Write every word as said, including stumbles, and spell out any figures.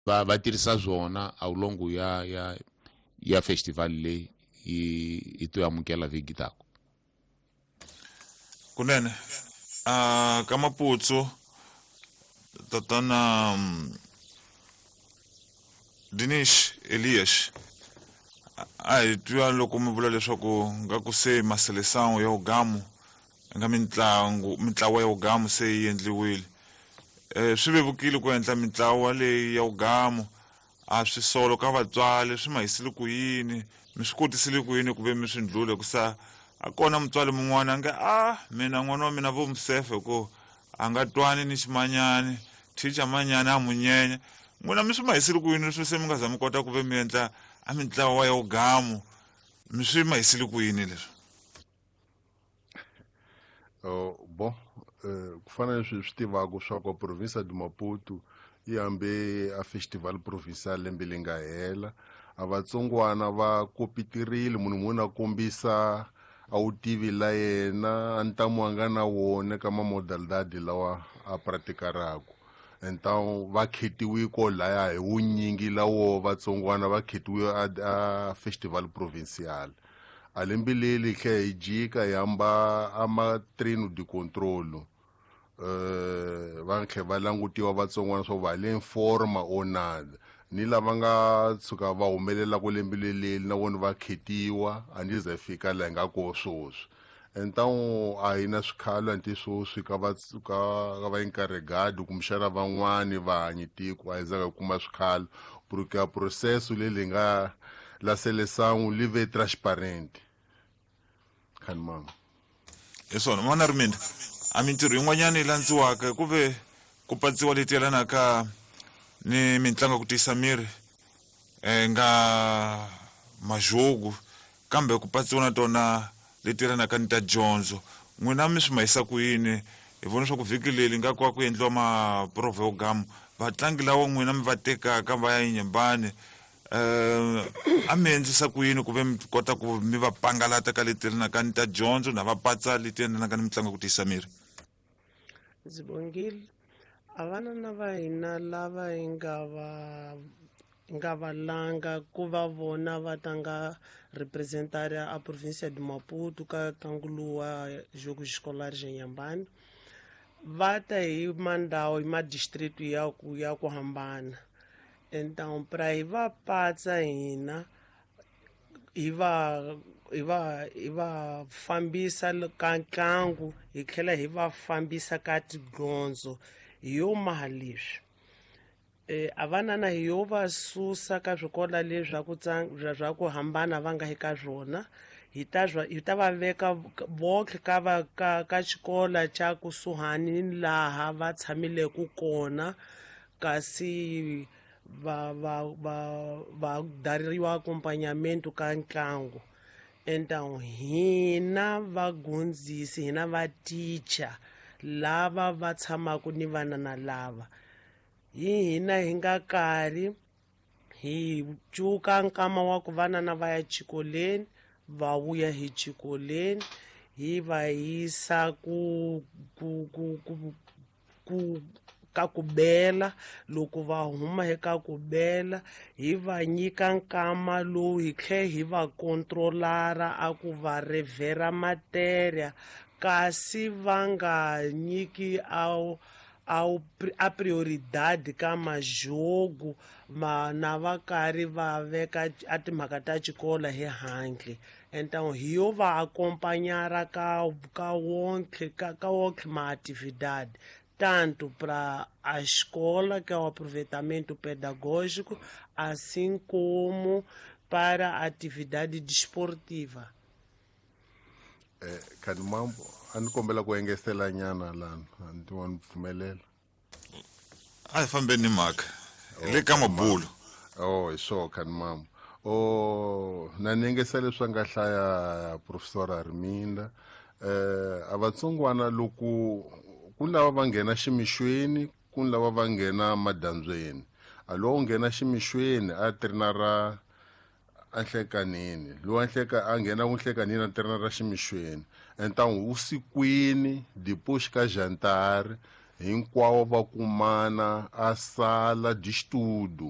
Va va tirhisa swona a longo ya ya ya festival leyi i to amukela vhiki tako. Kunene a ka Maputsu tatana Dinesh Elias a hi twa loko mi vula leswaku nga ku se maseleção ya ugamu nga mintlangu mintlawa ya ugamu se yi endliwile. Eh swi vevukile ku endla mintlawa leyi ya ugamu a swi solo ka vatswari swi mahisile ku yini mi swi kotisile ku yini ku ve mi swi ndlule ku sa a kona mutswari mun'wana a nge a mina n'wana wa mina vo musefe ku a nga twani ni ximanyani thicha manyani a munyenya n'wina mi swi mahisile ku yini swi se mi nga za mi kota ku ve mi endla a mintlawa ya ugamu mi swi mahisile ku yini leswi? Oh bon ku fana leswi swi tivaka swa ku province de Maputo yi hambe a festival provincial lembe leri nga hela a vatsongwana va kopitirile munhu munhu a kombisa a wu tivi la yena a ntamu a nga na wona ka mamodalidade lawa a pratikaraku. Então va khetiwe ko laya hi wunyingi lawo vatsongwana va khetiwe a, a festival provincial. A lembe leri tlhe hi jika hi hamba a ma-treino de controlo uh, va tlhe va langutiwa vatsongwana swa va le forma or nada ni lava nga tshuka va humelelaku lembe leli na vona va khetiwa a ni ze fika laha hi nga ko sweswi. Então a hi na swikhalo anti sweswi ka va ka ka va encarregado kumbexana van'wani va hanyi tiko a hi zanga hi kuma swikhalo porque a processo leri nga la seleção li ve transparente. Khani mama hi swona n'wana ri mina a mintirho yin'wanyana yi landziwaka ku ve ku patsiwa leti yelanaka ni mitlangu ya ku tiyisa miri eh nga majogo kambe ku patsiwa na tona leti yelanaka ni ta dyondzo n'wina mi swi mahisa ku yini hi vona swa ku vhiki leri nga ku ku endliwa maprovo yo gamu vatlangi lawa n'wina mi va tekaka va ya Inhambane eh a mi endlisa ku yini ku ve mi kota ku mi va pangalata ka leti yelanaka ni ta dyondzo na va patsa leti yelanaka ni mitlangu ya ku tiyisa miri? Ndzi bongile a vanana va hina lava hi nga va nga va langa ku va vona va tlanga representar a província de Maputo ka ntlangu lowu wa Jogos Escolares Inhambane va ta hi mandhawu hi madistritu ya ku ya ku hambana. Então pra hi va patsa hina hi va hi va hi va fambisa ka ntlangu hi tlhela hi va fambisa ka tidyondzo hi yo maha leswi eh a vanana hi yo va susa ka swikolo leswi ku swa ku hambana va nga eka swona hi ta hi ta va veka vonke ka va ka ka xikolo xa kusuhani ni laha va tshamileke kona kasi va va va va dariwa acompanhamento ka ntlangu. Então hina vagondzisi hina va teacher lava va tshamaka ni vanana lava hi hina hi nga karhi hi cuka nkama wa ku vanana va ya xikolweni va vuya hi xikolweni hi va yisa ku ku ku ku ku ka ku bela loko va huma eka ku bela hi va nyika nkama lowu hi tlhe hi va controlara a ku va revera matéria kasi va nga nyiki a a prioridade ka majogo ma na va karhi va veka a timhaka ta xikolo hi handle. Então hi yo va acompanhar ka ka wonke ka ka wonke ma atividade tanto para a escola, que é o aproveitamento pedagógico, assim como para a atividade desportiva. Eh, khani mambo a ni kombela ku engetela nyana lana a ni wa ni pfumelela a hi fambeni ni mhaka hi le ka mabulo. Oh hi swona khani mambo oh na ni engetela leswi a nga hlaya professor Arminda eh a vatsongwana loko ku lava va nghena ximixweni ku lava va nghena madandzweni a lowu nghena ximixweni a trinara a nhlekanini lowu a nhleka a nghena ku nhlekanini a trinara ximixweni então usikwini depois ka jantar Hinkwawo va kumana a sala de estudo.